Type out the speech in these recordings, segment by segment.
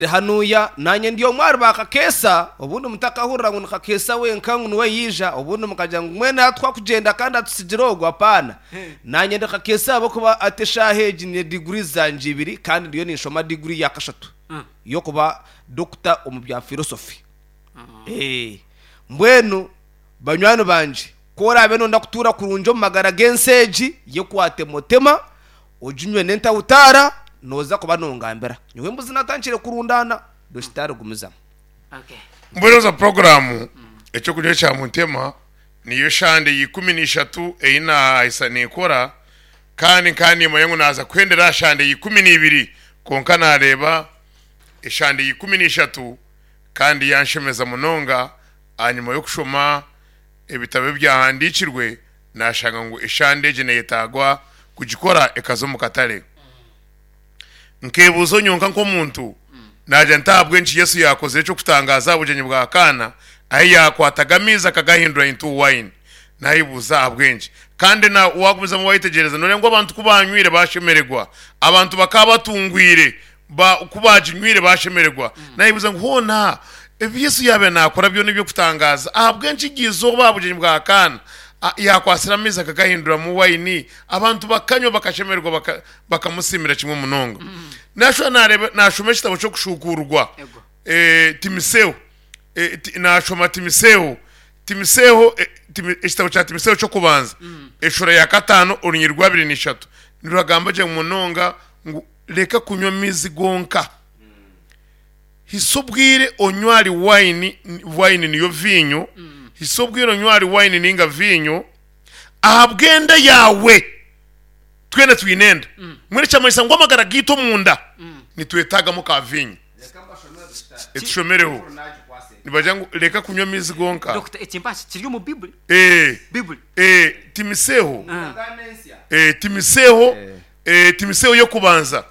Hanuya, naanye ndi omwe ahari ba Kakeesa, obundi mutakahurira ngu ni Kakeesa wenka ngu niwe yaija, obundi mukagira ngu mbwenu atuha kugyenda kandi atutsigira ogu, apaana. Naanye ndi Kakeesa ahabw'okuba hati eshaaha egi nyine diguri zangye ibiri kandi ndiyo ninshoma diguri ya kashatu y'okuba dokita omu bya filosofi. Mbwenu banywani bangye, ku oraabe nooyenda kutuura kurungi omu magara g'ensi egi, yekwate mutema, Oginywe n'entahutaara, nooza kuba nongambira. Nyowe embuzi natandikire kurundaana, Dokitaari gumizamu. Mbwenu za puroguraamu Eky'okunywa ekya Muntema niyo eshande ya 13 ei naahisa ninkora kandi nkaba nimanya ngu naaza kuhendera aha shande ya 12 kwonka naareeba eshande ya 13 kandi yanshemeza munonga ahanyima y'okushoma ebitabo ebyahandiikirwe naashanga ngu eshande egi neyetaagwa kugikora ekaza omu katare. Nkeebuuza onyonka nk'omuntu, naagira nti ahabw'enki Yesu yaakozire eky'okutangaaza aha bugyenyi bwa Kaana ahu yaakwataga amaizi akagahindura into wine? Naayebuuza ahabw'enki. Kandi na waagumizamu waayetegyereza nooreeba ngu abantu ku baanywire baashemererwa. Abantu bakaba batungwire ba ku baaginywire baashemererwa. Naayebuuza ngu hoona ebi Yesu yaabaire naakora byona eby'okutangaaza, ahabw'enki eryo izooba aha bugyenyi bwa Kaana yaakwatsire amaizi akagahinduramu waini, abantu bakanywa bakashemererwa baka bakamusiimira kimwe munonga. Naashuba naareeba naashoma ekitabo ky'okushuukuurwa Ego. eh, Timiseo eh, ti, naashoma Timiseo Timiseo eh, Timi, ekitabo kya Timiseo ky'okubanza eshuura ya kataano orunyiriri rwa abiri n'ishatu niruragamba gye munonga ngu Reka kunywa amaizi gonka. Hisa obwire onywe ahari waini, waini niyo viinyo, hisa obwire onywe ahari waini ninga viinyo ahabw'enda yaawe. Twena twine enda. Mbwenu ekyamanyisa ngu amagara gaitu omunda nitwetaagamu ka viinyo. Etushomereho. Nibagira ngu reka kunywa amaizi gonka. Dokita, ekimpa kiri omu Bibuli. Eh, Bibuli. eh, Timiseho. Eh, Timiseho. Timotheo y'okubanza.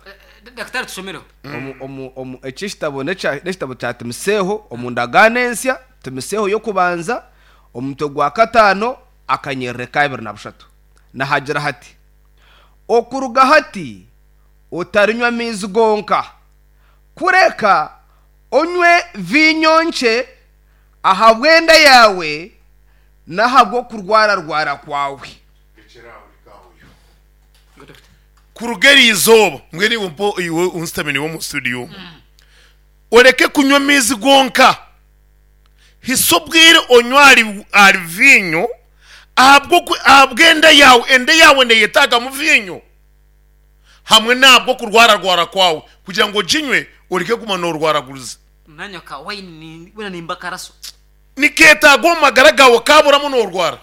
Dakitari tushomereho. Omu, omu, omu, eki ekitabo n'ekya- n'ekitabo kya Timotheo omu ndagaano ensya, Timotheo y'okubanza, omutwe gwa kataano, akanyerere ka 23. Nihagira hati, Okuruga hati otarinywa maizi gonka, kureka onywe viinyo nkye ahabw'enda yaawe n'ahabw'okurwararwara kwawe. Kuruga eri izooba, mbwenu iwe mpa iwe onsitamire naiwe omu studio omu, oreke kunywa amaizi gonka, hisa obwire onywe ahari ahari viinyo ahabw'oku ahabw'enda yaawe, enda yaawe neeyetaagamu viinyo hamwe n'ahabw'okurwararwara kwawe kugira ngu oginywe oreke kuguma noorwaraguriza. Nanywa ka wine weena nimba akaraso. Nikeetaaga omu magara gaawe kaaburamu noorwara.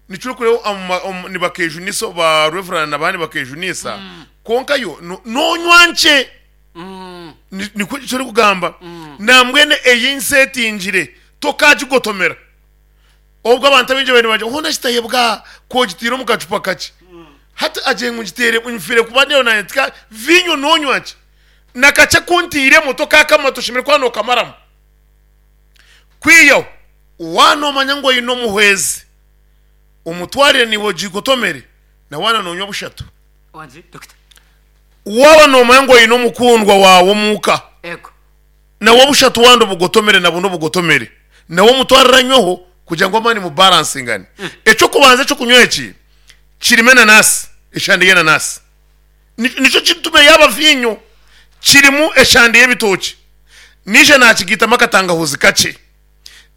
Nikyo orikureeba omu ma- omu- nibakejunisa ba Reverend n'abandi bakejunisa kwonka yo no- nonywa nkye Ni- nikwo eki orikugamba nambwenu ei nsetingire tokagigotomera obwo abantu abaingi babaire nibagira hoona kitahebwa ku ogiteire omu kacupa kakye hati agire ngu ngiteire nfiire kuba ndeeba naanye tika viinyo nonywa nkye na kakye aku nteiremu tokakamara toshemereire kuba nokamaramu kwihaho Waaba noomanya ngu oine omuhwezi, omutwarire naiwe ogigotomere, na waaba noonywa bushatu. Waaba noomanya ngu oine omukundwa waawe omuka, nawe obushatu wandi obugotomere na bunu obugotomere, nawe omutwarire anyweho kugira ngu amaani mubaransingane. Eky'okubanza eky'okunywa eki kirimu enanasi, eshande y'enanasi. Nikyo kiritume yaaba viinyo. Kirimu eshande y'ebitookye. Naija naakigaitamu akatangahuzi kakye.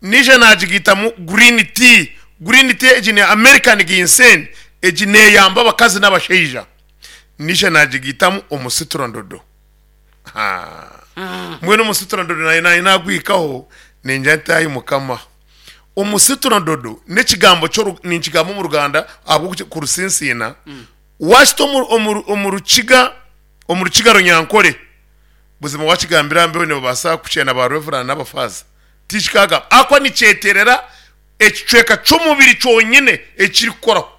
Naija naagigaitamu green tea. Green tea egi ni American ginseng, egi neeyamba abakazi n'abashaija. Naija naagigaitamu omusiturandodo. Mbwenu omusiturandodo naanye naanye naagwihikaho ningira nti ai Mukama. Omusiturandodo n'ekigambo ky'oru ninkigamba omu Ruganda ahabw'okurusinsiina, waakita omu omu omu rukiga omu rukiga runyankore, Buzima wakigambira mbeho nibabaasa kukyena ba Reverand n'abafaaza? Tikikagamba. Ahakuba nikyeterera ekicweka ky'omubiri kyonyine ekirikukoraho.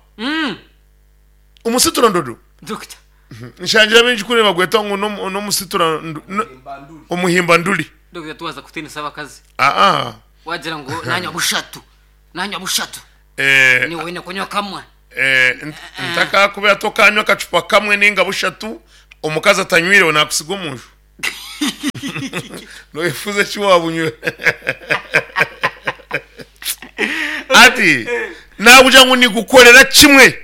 Omusiturandodo. Doctor. Nshangire abaingi kuri nibagweta ngu n'omusitura omuhimbanduri. Doctor twaza kutiinisa abakazi. Aa. Wagira ngu nanywa bushatu. Nanywa bushatu. Eh, Niwe oine kunywa kamwe. eh, ntakakubira tokanywa akacupa kamwe ninga bushatu omukazi atanywireho nakusiga omunju. Noyefuza eki wabunywa. Ati nakugira ngu nigukorera kimwe.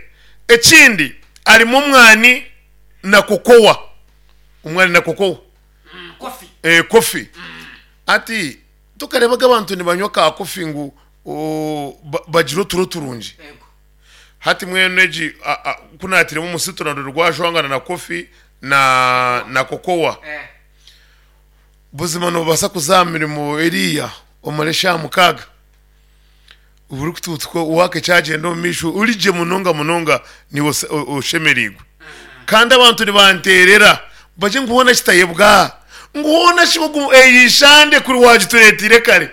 Ekindi harimu omwani na kokowa. Omwani na kokowa. Coffee. Eh, coffee. Ati tokarebaga abantu nibanywa ka coffee ngu oh, ba- bagire oturo turungi. Yego. Hati mwenu egi a- a- ku naatiremu omusitu narwo rwajwangana na coffee na na kokowa. Eh. Buzima noobaasa kuza aha mirimo eriya omare eshaaha mukaaga orikutuutuka waaka ekyagyenda omu maisho ori gye munonga munonga niiwe oshemereirwe. Kandi abantu nibanteerera bagye ngu hoona kitayebwa, ngu hoona shi ogu egi shande kuri waagitureeteire kare.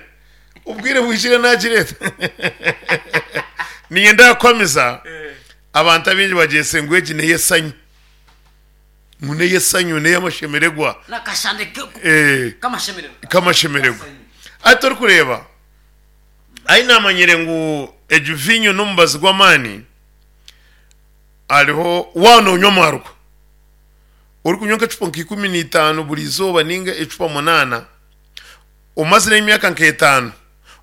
Obwire bwijire naagireeta. Niinyenda kukuhamiza abantu abaingi bagyese ngu egi n'ey'esanyu. Ngu n'ey'esanyu n'ey'amashemererwa. N'akashande Eh. k'amashemererwa. K'amashemererwa. Hati orikureeba, ahi naamanyire ngu egi viinyo n'omubazi gw'amaani, hariho waaba noonywa amaarwa, orikunywa nk'ecupa nka 15 buri izooba nainga ecupa munaana, omazire emyaka nk'etaano,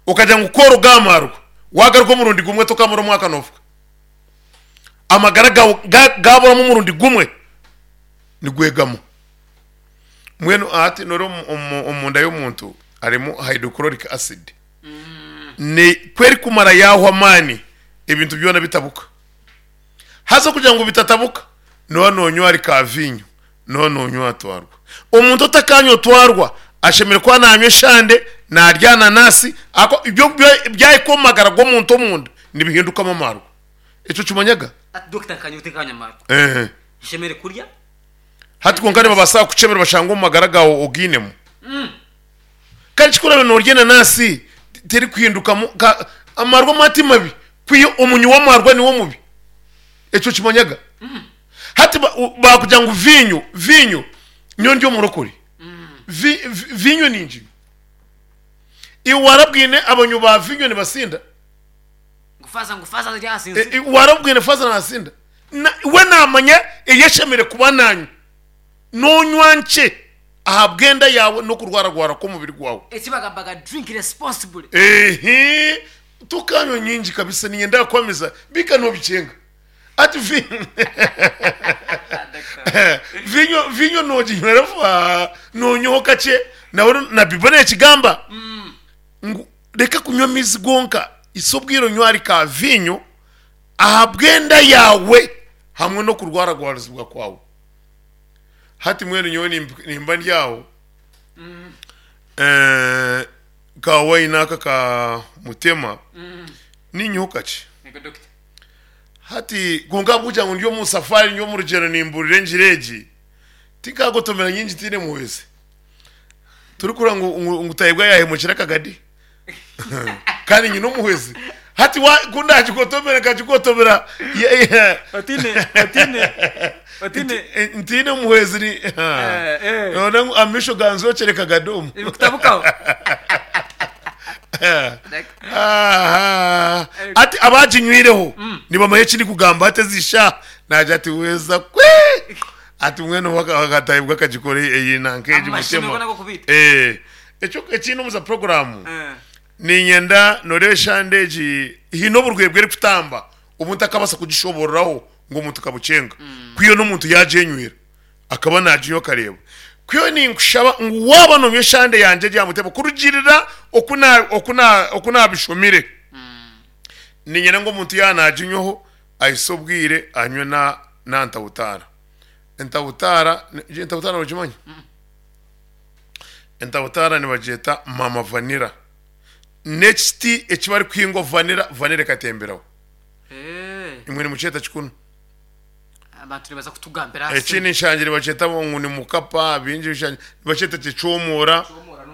okagira ngu ku oruga aha maarwa, waagaruka omurundi gumwe tokaamara omwaka noofuka. Amagara gaawe gaaburamu omurundi gumwe, nigwegama. Mbwenu hati noreeba omunda y'omuntu harimu hydrochloric acid. Ku erikumara yaahwa amaani, ebintu byona bitabuka. Haza okugira ngu bitatabuka, nooba noonywa ahari kaaviinyo, nooba noonywa aha twarwa. Omuntu otakanywa otwarwa ashemereire kuba naanywa eshande, naarya ananasi, ahakuba ibyo byahika omu magara g'omuntu omunda nibihindukamu amaarwa. Ekyo okimanyaga? Hati dokita nkanye otekanywa amaarwa. Ehe. Nshemereire kurya. Hati kwonka nibabaasa kukukyebera bashanga omu magara gaawe ogainemu. Kandi eki ku oraabe noorya enanasi terikuhindukamu ka amarwa ama ti mabi kwiha omunywi w'amarwa niwe mubi. Ekyo okimanyaga? Hati ba- baakugira ngu viinyo, viinyo, nyowe ndi omurokore. Vi- vi- Viinyo ninginywa. Iwe warabwine abanywi ba viinyo nibasinda? Ngu faaza ngu faaza ari ahasinzire. Warabwine faaza naasinda? Na- We naamanya ei ashemereire kuba naanywa. Noonywa nkye ahabw'enda yaawe n'okurwararwara kw'omubiri gwawe. Eki bagambaga drink responsibly. Ehe, tokanywa nyingi kabisa niinyenda kukuhamiza bika noobikyenga. Ati vi- vinyo vinyo nooginywera fa noonywaho kakye nawe na Bible neekigamba ngu reka kunywa amaizi gonka hitsya obwire onywe ahari ka viinyo ahabw'enda yaawe hamwe n'okurwaragwarizibwa kwawe. Hati mbwenu nyowe nimba ndi aho ka wine aka ka mutema niinywaho kakye. Hati kwonka ahabw'okugira ngu ndi omu safari ndi omu rugyendo nimbuurira engiri egi, tinkagotomera nyingi tihaine muhwezi. Torikuhurira ngu ngu ngu Tayebwa yaahemukire akagadi? Kandi nyine omuhwezi. Hati wa ku ndaagigotomere nkagigotomera ye- ye- Otiine, otiine, otiine. Ntiine omuhwezi ni Eh, eh. Noona ngu amaisho ganzookyere kagadi omu. Ebikutabukaho. Aha. Ati abaginywireho nibamanya eki ndikugamba hati ezi shaaha naagira ati weeza kwe ati mbwenu akatayibwa akagikora eyi nanka egi Amashemero mutema n'ag'okubiita. Eh, ekyo ekindi omuza puroguraamu Eh. niinyenda nooreeba eshande egi haine oburwaire erikutamba omuntu akabaasa kugishoboororaho ngu omuntu kabukyenga kwiha n'omuntu yaagyenywera Akaba naaginywa akareeba. Kwihaho ninkushaba ngu waaba noonywa eshande yangye egi aha mutebo kurugiirira oku na, oku na, oku naabishomire, niinyenda ngu omuntu yaaba naaginywaho ahise obwire anywe na, na ntabutaara. Entabutaara, entabutaara noogimanya? Entabutaara nibagyeta mama vanilla. N'ekiti eki barikuhingwa vanilla, vanilla ekatemberaho. Imwe nimukyeta ki kunu? Abantu nibaza kutugambira aha Ekindi simu. nshangire nibakyeta ngu ni mukapa, bingi nshangire nibakyeta ki ekyomora.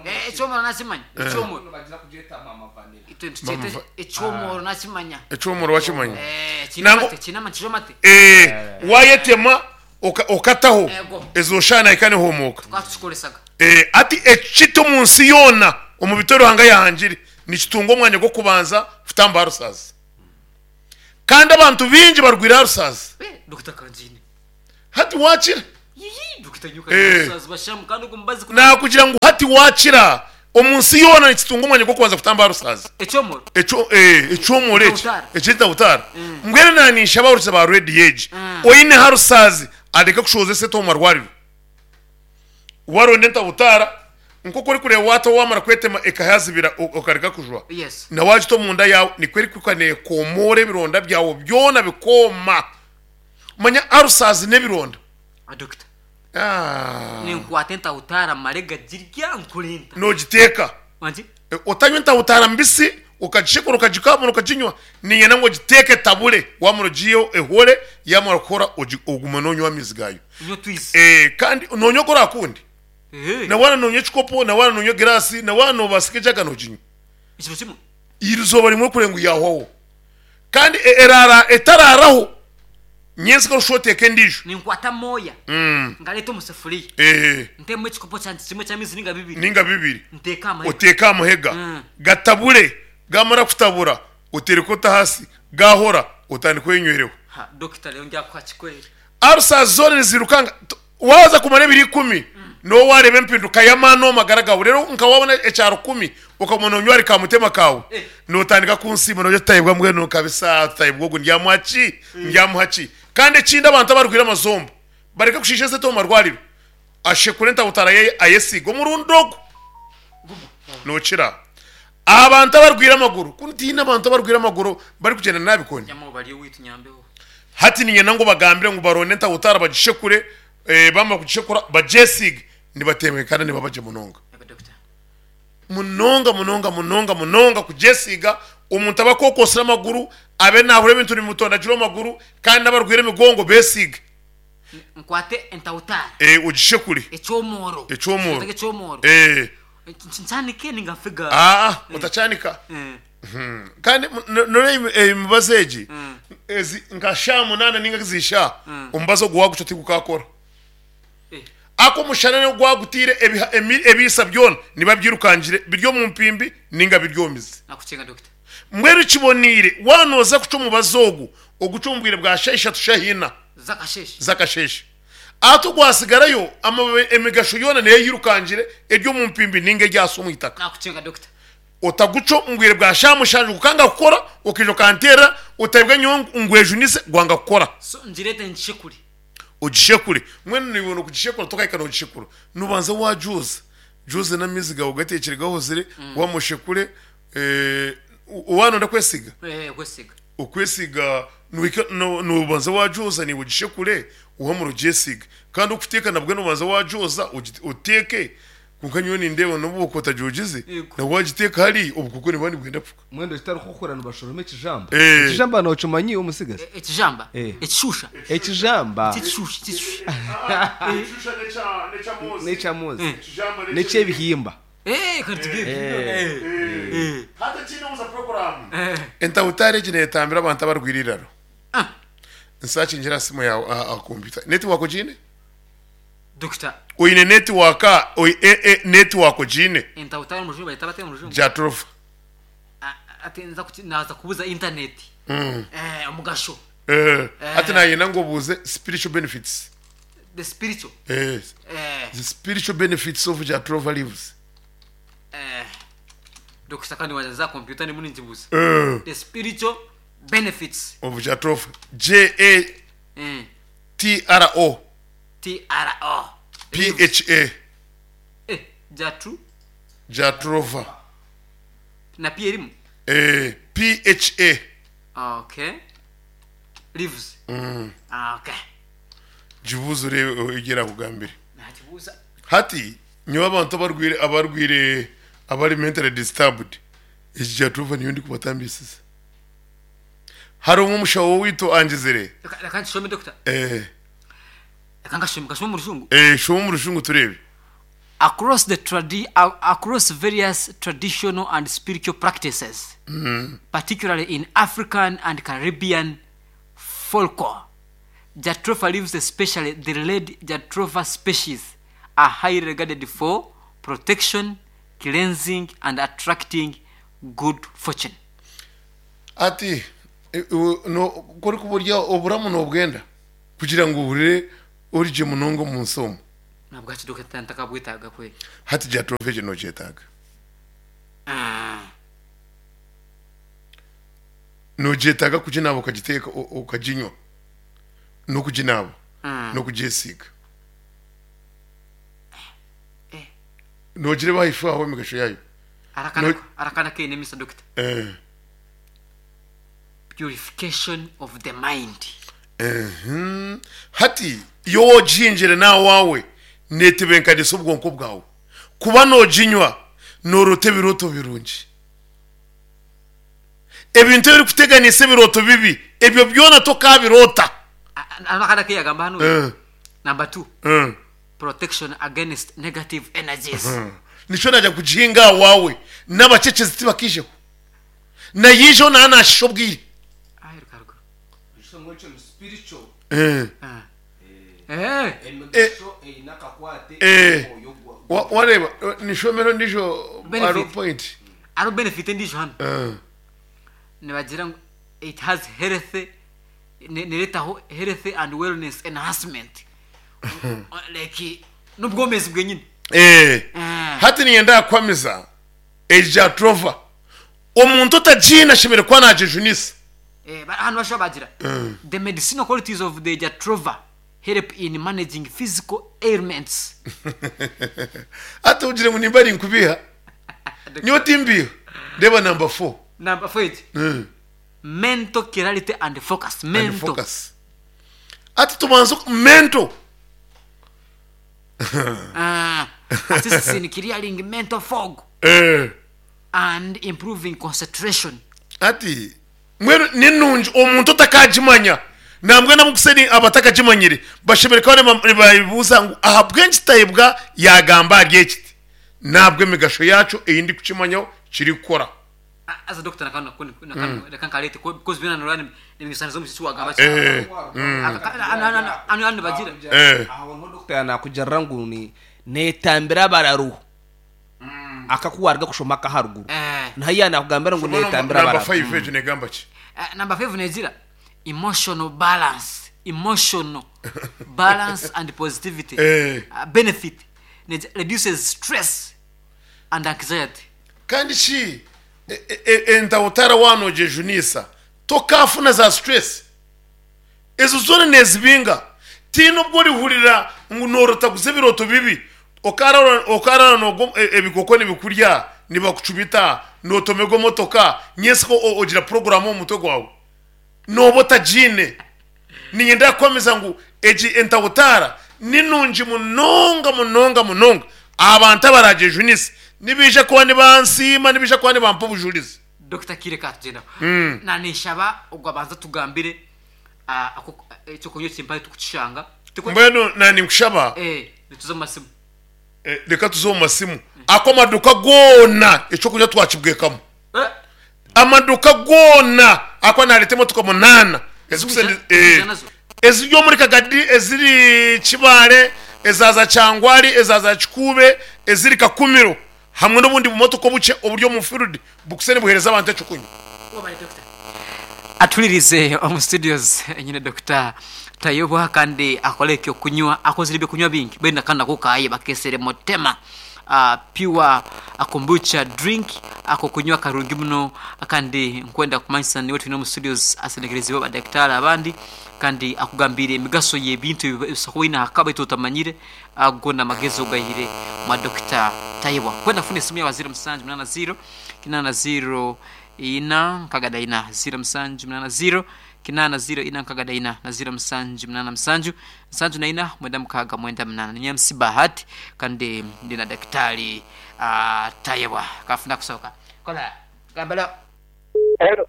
Eh, ekyomoro nakimanya. Ekyomoro. Nibagira kugyeta mama vanilla. Itwe nitukyeta Mama va- ekyomoro nakimanya. Ekyomoro wakimanya? Eh, kiine Nangwa amate, kiine amate, kiine amate. Eh, wayetema oka- okataho Ego. ezo shaaha nahika nihumuuka. Tukaba tukikoresaga. Eh, ati ekiti omu nsi yoona omu biti Ruhanga yahangire nikitunga omwanya gw'okubanza kutamba aha rusaazi. Kandi abantu baingi barwaire aha rusaazi. Eh, Dokita Kandiine. Hati waakira. Yiyi, Dokita nyoka Eh. rusazi bashamu kandi ogwo mubazi ku Nakugira ngu hati wakira omu nsi yoona nikitunga omwanya gw'okubanza kutamba arusazi. Ekyomoro. Ekyo eh, ekyomoro eki Entautara. eky'entautara. Mbwenu naninshaba abarukiza ba rediyo egi, oine harusazi areke kushohoza esente omu marwariro. Waronda entautara nk'oku orikureeba waata wamara kwetema ekahazibira okareka kujwa. Yes. Na wagita omunda yaawe nikwo erikuhika neekomoora ebironda byawe byona bikooma. Manya arusazi n'ebironda. Dokita. Ah. Ninkwata entautara mare gagirya nkurenta. Nogiteeka. Wangi? Otanywa entautara mbisi okagishekura okagikamura okaginywa niinyenda ngu ogiteeke etabure wamara ogiiheho ehore yamara kuhora ogume nonywa amaizi gaayo. Nywe otwizi. Kandi nonywa oku orakunde. Ehe. Na waaba nonywa ekikopo na waaba nonywa egiraasi na waaba nobaasika ejaga noginywa. Ekiro kimwe. Eizooba rimwe kureba ngu yahwaho. Kandi eraara etaraaraho nyentsya orikushusha oteeka endiijo. Ninkwata amooya ngareeta omu sefuriya ntemu ekikopo kyangye kimwe ky'amaizi ninga bibiri. Ninga bibiri. Nteeke aha mahega. Oteeke aha mahega gatabure, gaamara kutabura otereke ote ahansi gaahora otandike oyenywereho. Ha, dokita reero ndyakuha kikwere. Ulcers zoona nizirukanga. Waaza kumara ebiro ikumi nooba waareeba empinduka y'amaani omu magara gaawe. Reero nka waabona ekya rukumi okaguma noonywa ahari kamutima kaawe, nootandika kunsiima noogira oti Tayebwa mbwenu kabisa Tayebwa ogu ndyamuha ki? Ndyamuha ki? Kandi ekindi abantu abarwaire amazombo bareke kushiisha esente omu marwariro. Ashekure entabutara ye ayesiige omurundi ogu nookira. Abantu abarwaire amaguru, kunu tihaine abantu abarwaire amaguru barikugyenda nabi koni? Nyamaho bari owaitu nyambeho. Hati niinyenda ngu obagambire ngu baronde entahutara bagishekure, bamara kugishekura bagyesiige, nibatebeekana nibaba gye munonga. Munonga munonga munonga munonga kugyesiiga, omuntu abe akokosire amaguru, abe naahurira ebintu nibimutondagira omu maguru, kandi n'abarwaire emigongo beesiige. Nkwate entahutara. Ogishekure. Ekyomoro. Ekyomoro. Ekyomoro. Nkyanike ninga nfiga? Aa, otakyanika. Kandi noreeba emibazi egi, ezi nka shaaha munaana ninga ezi shaaha, omubazi ogu waagucwa tigukakora. Aku omushana nigwo gwagutiire ebiisa byona nibiba byirukangire biri omu mpimbi ninga biri omu mizi. Mbwenu kiboneire waaba nooza kucwa omubazi ogu, ogucwe omu bwire bwa shaaha ishatu shaaha ina z'akasheeshe. Ati ogwasigarayo amababi emigasho yoona neyo eyirukangire eri omu mpimbi ninga eri ahansi omu itaka. Otagucwa omu bwire bwa shaaha mushanju gukanga kukora, okaija okanteerera otaibwa nyowe ngwejunise gwanga kukora. So ngireete ngishekure. Ogishekure. Mbwenu naiwe n'okugishekura tokahika nogishekura. Nobanza wagyoza. Gyoza n'amaizi gaawe gateekire gahozire, wamara oshekure, waaba noyenda kwesiga? Eh, kwesiga. Okwesiga nohika nobanza wagyoza naiwe ogishekure, wamara ogyesiige. Kandi okuteeka nabwo nobanza wagyoza oteeke. Kwonka nyowe nindeeba n'obu wakuba otagyogize, Yego. nabwo wagiteeka hariya obukooko nibuba nibwenda kufuka. Mbwenu ekitarikukukura nibashoroma ekijamba. Eh. Ekijamba nokimanyi iwe omutsigazi? Ekijamba? Eh. Ekishusha? Ekijamba. Tikishusha, tikishusha. Ekishusha n'ekya N'ekyamozi. N'eky'ebihimba. Eh, kare tugende. Eh. Hati ekindi omuza puroguraamu. Eh. Entahutari egi neetambira abantu abarwaire eiraro. Ah. Nsakingira aha simu yaawe aha kompyuta. Netiwaaka ogiine? Dokita. Oine netiwaaka netiwaaka ogiine? Entahutari omu rujungu bayeta bata omu rujungu? Jatropha. Ati nza kuki naaza kubuza intaneti. Eh, omugasho. Eh, hati nayenda ngu obuuze spiritual benefits. The spiritual. Eh, Eh. the spiritual benefits of Jatropha leaves. Eh. Dokita kandi waza za computer ndimu ninkibuuza. Eh. The spiritual benefits. Of Jatropha. J A Eh. T R O. T R O. P H A. Eh, Jatru. Jatropha. Na P erimu? Eh, P H A. Okay. Leaves. Okay. Gibuuze oreebe egi erakugambire. Nakibuuza. Hati nyowe abantu abarwaire abarwaire abari mentally disturbed egi Jatropha niyo ndikubatambisiza. Hariho omushaho waitu angizire. Reka nkishome doctor. Eh. Reka nkashome nkashome omu rujungu. Eh, shoma omu rujungu tureebe. Across the tradi across various traditional and spiritual practices, particularly in African and Caribbean folklore, Jatropha leaves especially the red Jatropha species are highly regarded for protection, cleansing and attracting good fortune. Ati, Ku orikuba ori oburamu nobwenda kugira ngu ohurire Ori gye munonga omu nsi omu. Nabwaki Dokita ntakabwetaaga kwe? Hati Jatropha egyo nogyetaaga? Nogyetaaga kuginaaba okagiteeka okaginywa n'okuginaaba n'okugyesiiga. Nogireeba ahaifo aho emigasho yaayo. Arakana keine emisa Dokita. Purification of the mind. Hati iwe wogihingire nawawe netebenkanisa obwonko bwawe. Kuba noginywa norota ebiroto birungi. Ebintu ebirikuteganisa ebiroto bibi ebyo byona tokabirota. Akana keyagamba hanu. Number 2. Protection against negative energies. Nikyo nagira kugihinga awawe nabacekyezi tibakaijeho. Nayiijeho naaba naashisha obwire. Ekishomo ekyo ni spiritual. Eh. Eh. Emigasho eine akakwate Eh. n'omwoyo gwa. Wareeba nishomero endiijo Benefit. hariho point. Hariho benefit endiijo hanu. Eh. Nibagira ngu it has health nereetaho health and wellness enhancement. Like n'obwomeezi bwenyine. Eh. Eh. Hati niinyenda kukuhamiza Eja Trova, omuntu otagiine ashemereire kuba nagyejunisa. Hanu bashuba bagira, The medicinal qualities of the Jatropha help in managing physical ailments. Hati ogire ngu nimba ninkubiiha, nyowe timbiiha. Reeba namba fo. Namba fo egi, Mental clarity and focus. And Mental. focus. Hati tubanze mental. Assists in clearing mental fog Eh. and improving concentration. Hati mbwenu ni nungi omuntu otakagimanya nambwenu abakuseni abatakagimanyire bashemereire kuba nibayebuuza ngu ahabw'enki Tayebwa yagamba ahari eki ti nahabwa emigasho yaakyo ei ndikukimanyaho kirikukora. Haza doctor nakanu reka nkareete because byona noreba nibinyusaniza omu ki wagamba Eh, hanu nibagira. Eh. Aho niho doctor nakugirira ngu ni netambira abararu akakuwaruga kushoma akaharuguru. Eh. Niho yanakugambira ngu netambira Namba abararu. 5 egyo negamba ki? Number 5 negira emotional balance, emotional balance and positivity. Eh. Benefit reduces stress and anxiety. Kandi shi entawutara waaba noogyejunisa tokaafuna za stress? Ezo zoona neezibinga. Tihaine obu orihurira ngu noorotaguza ebirooto bibi, okaaraara noogwa ebikoko nibikurya, nibakucumita, nootomerwa emotoka, nyentsya ogira puroguraamu omu mutwe gwawe. Nooba otagiine. Niinyenda kukuhamiza ngu egi entawutaara ni nungi munonga munonga munonga aha bantu abaragyejunise. Nibaija kuba nibansiima, nibaija kuba nibampa obujurizi. Dokita Kiire kaatugyendaho. Na ninshaba ogwo abanze atugambire eky'okunywa ekimpare tukukishanga. Mbwenu na ninkushaba. Nituza omu masimu. Reka tuze omu masimu. Aku amaduuka goona eky'okunywa twakibwekamu. Amaduuka goona ahakuba naareeta emotoka munaana eziri omuri Kagadi, eziri Kibaale, ezaaza Kyangwari, ezaaza Kikuube, eziri Kakumiro hamwe n'obundi bumotoka obukye oburi omu field bukuse nibuheereza abantu eky'okunywa. Atuhuririze omu studios nyine Dokita Tayebwa kandi akore ekyokunywa akozire ebyokunywa bingi mbwenu akanu nako kaye bakesere Motema Pure Kombucha Drink akokunywa karungi muno kandi nkwenda kumanyisa niwe twine omu studios asendekereziibwe badakitaari abandi kandi akugambiire emigaso y'ebintu ebi osobora kuba oine aha ka beitu otamanyire ago n'amagezi ogaihire mwa Dokita Tayebwa. Nkwenda kufuna esimu yaawe 0780 80 4 6 4 0780 8 0 4 6 4 na 0 7 8 7 7 4 9 6 8. Ninye MC Bahati kandi ndi na Dakitari Tayebwa. Kafuna kusooka. Kola gambala. Hello.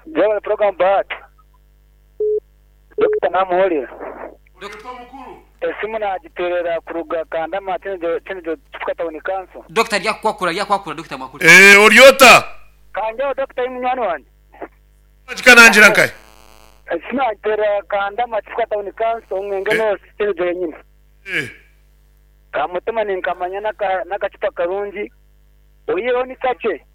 Jebare program Bahati. Dokita namuhurira. Esimu nagiterera kuruga Kandama Kyenjojo Kifuka Town Council. Dokita aryakukwakura aryakwakura Dokita mwakure. Eeh ori ota? Kangyeho Dokita ori munywani wangye. Kikanangira nkahi? Esimu nagiterera Kandama Kifuka Town Council Mwenge North Kyenjojo yenyine. Kamutima ninkamanya nakacupa karungi oyihireho ni kakye.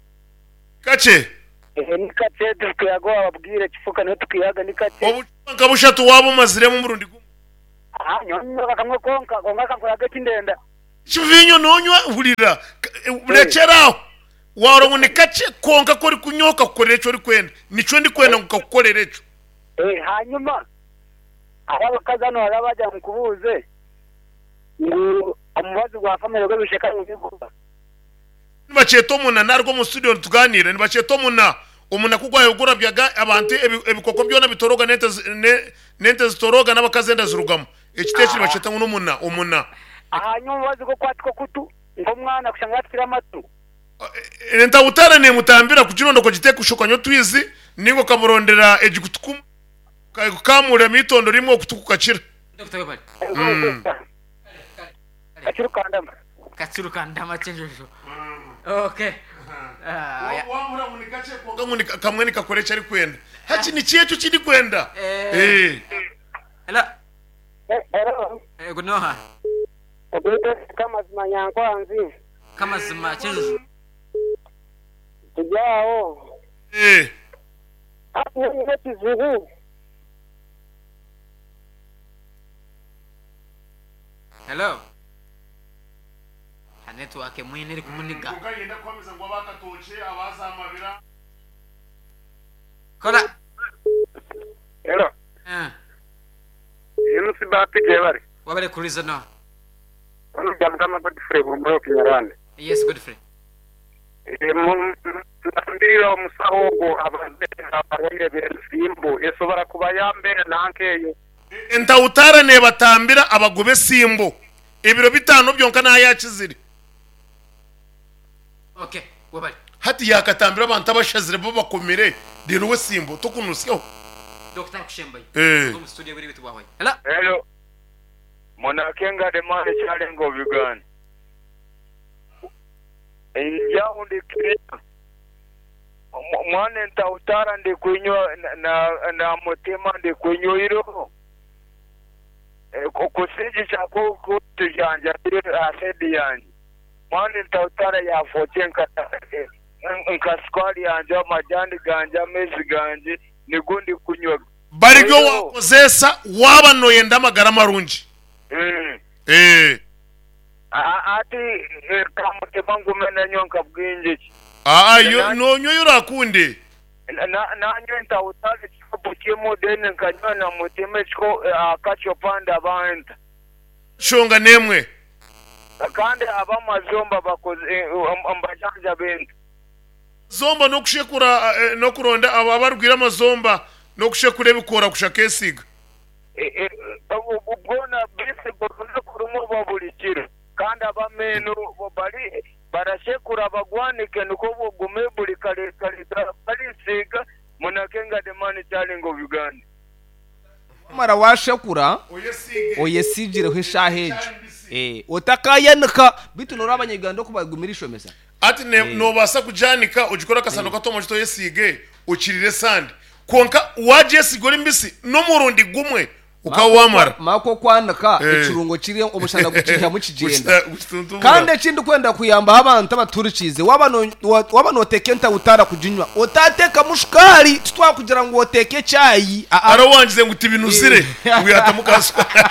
Kakye? Ehe ni kakye tukihaga wababwire Kifuka niho tukihaga ni kakye. Obucupa nka bushatu waaba omaziremu omurundi gumwe? Aha, nyowe niinywa kamwe konka, kwonka kankoraga eki ndenda. Eki viinyo noonywa, hurira, rekyera aho. Waahurira ngu ni kakye, kwonka ku orikunywa okakukorera eki orikwenda. Nikyo ndikwenda ngu kakukorere ekyo. Hanyuma hariho abakazi hanu hariho abaagira ngu nkubuuze ngu omubazi gwa famire gw'ebisheka nibiguha? Nibakyeta omuna, naruga omu studio nituganiira, nibakyeta omuna. Omuna ku gwahika gurabyaga abantu ebikoko byona bitoroga n'ente n'ente zitoroga n'abakazi enda zirugamu. Ekiti eki nibakyeta ngu n'omuna, omuna. Ahanyuma omubazi gw'okwatika okutu nk'omwana kushanga yatikire amatu. Entahutara neemutambira kugironda okagiteeka kushokanya otwizi nainga okamurondera egikutu kumwe okakamuriramu eitondo rimwe okutu kukakira. Dokita webale. Katsiru kandama. Katsiru kandama kyenjojo. Okay. Ah, ya. Wamura ngu ni kakye kwonka ngu ni kamwe nikakora eki arikwenda. Hati niki ekyo eki ndikwenda? Eh. Eh. Hello. Hello. Eh, gunoha. Ogwete Kamazima Nyankwanzi. Kamazima kyenjojo. Turi aho. Eh. Hati nyowe nyine ekizibu. Hello. Ha network mwine eri kumuniga. Kwonka niinyenda kuhamiza ngu aba katookye, aba zamabira. Kola. Hello. Eh. MC Bahati gyebare. Wabare kuriza no. Ono Byamukama Godfrey Burumbura Kinyarwanda. Yes Godfrey. Nambirira omusaho ogwo abaze abarwaire b'ensimbu esobora kubayamba nanka eyo. Entahutara neebatambira abagoba esimbo ebiro bitaano byonka naaba yaakizire. Okay, webale. Hati yaakatambira abantu abashazire bo bakomire reero we esimbo tokunusyaho. Dokita arikushembayo. Eh. Omu studio obwire bwaitu bwahwayo. Hello. Hello. Munakenga the man Kyarenga of Uganda. Njaaho ndi clear. Mwana entahutara ndi kwinywa na mutima ndi kwinywa iroho. Kusigikya ku tujanjabire aha side yangye. Mwana entahutara yafookye nka sukari yangye, amajani gangye, amaizi gangye nigo ndi kunywa. Bari ryo waakozeesa waaba nooyenda amagara marungi. Hati ka mutima ngume nanywa nka bwingi ki? Aa, yo noonywa ei oraakunde. Nanywa entahutara ekikopo kimwe then nkanywa na mutima akacupa ndaba nta. Nshonga n'emwe. Kandi ab'amazomba bakoze mbajanjaba nta? Zomba n'okushekura n'okuronda abarwaire amazomba n'okushekura ebikoora kusha keesiga. Bwona basic orunaku rumwe oba buri kiro. Kandi ab'amaino bari barashekura bagwanike nikwo bugume buri kare kare barisiiga Munakenga the man challenge of Uganda. Wamara washekura oyesigireho eshaaha egyo otakayanika beitu noreeba abanyayuganda oku bagumire ishomesa. Hati noobaasa kugyanika ogikore akasano kato omu oyesiige okirire esande kwonka waagyesiga ori mbisi n'omurundi gumwe ukaba waamara. Maka okwanika ekirungo kiri omushana gukiihamu kigyenda. Kandi eki ndikwenda kuyambaho abantu abaturikiize waaba nooteeka entahutara kuginywa otateekamu shukaari titwakugira ngu oteeke chai. Hariho owangize ngu tibinuzire ngu yaatamu ka shukaari.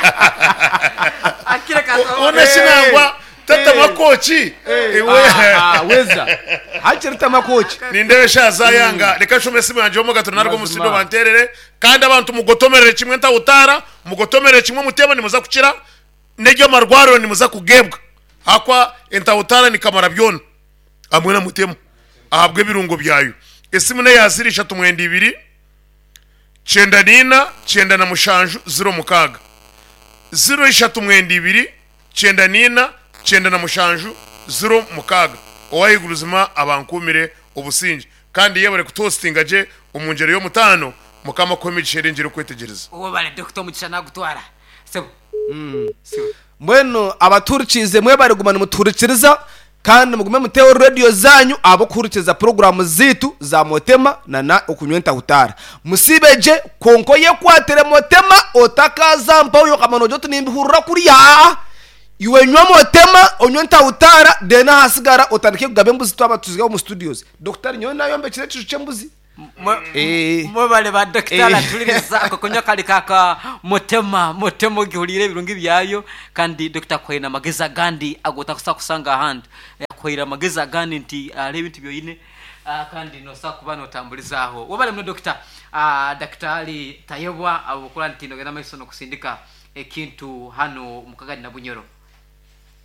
Hoona shi nangwa tatamu akooki? Weza hakiri tamu akooki. Nindeeba eshaaha zaayanga reka nshome esimu yangye y'omugato naruga omu studio banteerere kandi abantu mugotomerere kimwe entahutara mugotomerere kimwe omuteeba nimuza kukira n'ery'amarwariro nimuza kugeebwa ahakuba entahutara nikamara byona hamwe na mutema ahabw'ebirungo byayo. Esimu n'eya ziro ishatu mwenda ibiri kyenda n'ina kyenda na mushanju ziro mukaaga. Ziro ishatu mwenda ibiri kyenda n'ina kyenda na mushanju ziro mukaaga. Ow'ahaiguru buzima abankuumire obusingye kandi yebare kutuhositinga gye omu ngyero y'omutaano. Mukama akuhe emigisha erengire okwetegyereza. Webale Dokita omugisha nagutwara sebo. Mbwenu abatuhurikiize mwebare kuguma nimutuhurikiriza kandi mugume muteho rediyo zaanyu ahabw'okuhurikiriza puroguraamu zaitu za Motema na na Okunywa Entahutaara. Musiibe gye kwonka oyekwatire Motema otakaaza mpaho okamanya noogira oti nimbihurira kuriya aa. Iwe nywa Motema onywe Entahutaara then ahasigara otandike kugaba embuzi twaba tuziri omu studios. Dokitari nyowe naayombekire ekiju ky'embuzi. Eh. Mwebale ba dokita Eh. atuliriza ako kunywa kali kaka mutema mutema ogihuriire ebirungi byayo kandi dokita akuhaire namagezi agandi agu otakusobola kusanga ahandi. Akuhaire amagezi agandi nti hariho ebintu byoine kandi nosobola kuba notamburizaho. Webale muno dokita. Dakitari Tayebwa ahabw'okuba nti nogenda mumaiso nokusindika ekintu hanu omu Kagadi na Bunyoro.